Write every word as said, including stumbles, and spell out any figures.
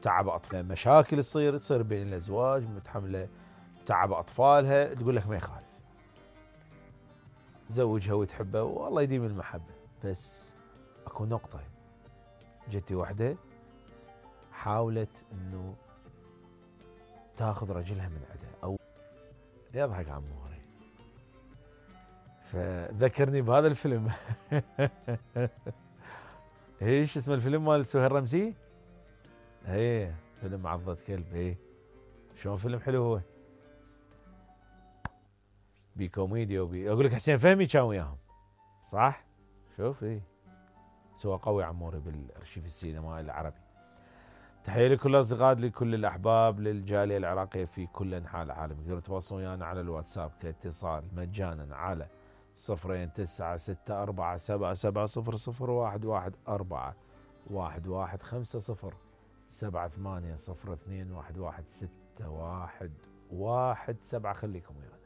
تعب اطفال، مشاكل تصير تصير بين الازواج متحمله تعب اطفالها، تقول لك ما يخالف تزوجها وتحبها والله يديم المحبه. بس اكو نقطه، جتي وحده حاولت انه تاخذ رجلها من عندها او يضحك عموري، فذكرني بهذا الفيلم. ايش اسم الفيلم مال سهير رمزي؟ ايه فيلم عضة كلب. ايه شلون فيلم حلو هو، بكوميديا وبي اقول لك حسين فهمي كان وياهم صح؟ شوف ايه سوى قوي عموري بالارشيف السينمائي العربي. تحية لكل الاصدقاء، لكل الاحباب، للجاليه العراقيه في كل انحاء العالم. تقدروا تتواصلون ويانا على الواتساب كاتصال مجانا على صفرين تسعة ستة أربعة سبعة سبعة صفر صفر واحد واحد أربعة واحد واحد خمسة صفر سبعة ثمانية صفر اثنين واحد واحد ستة واحد واحد سبعة. خليكم ويانا.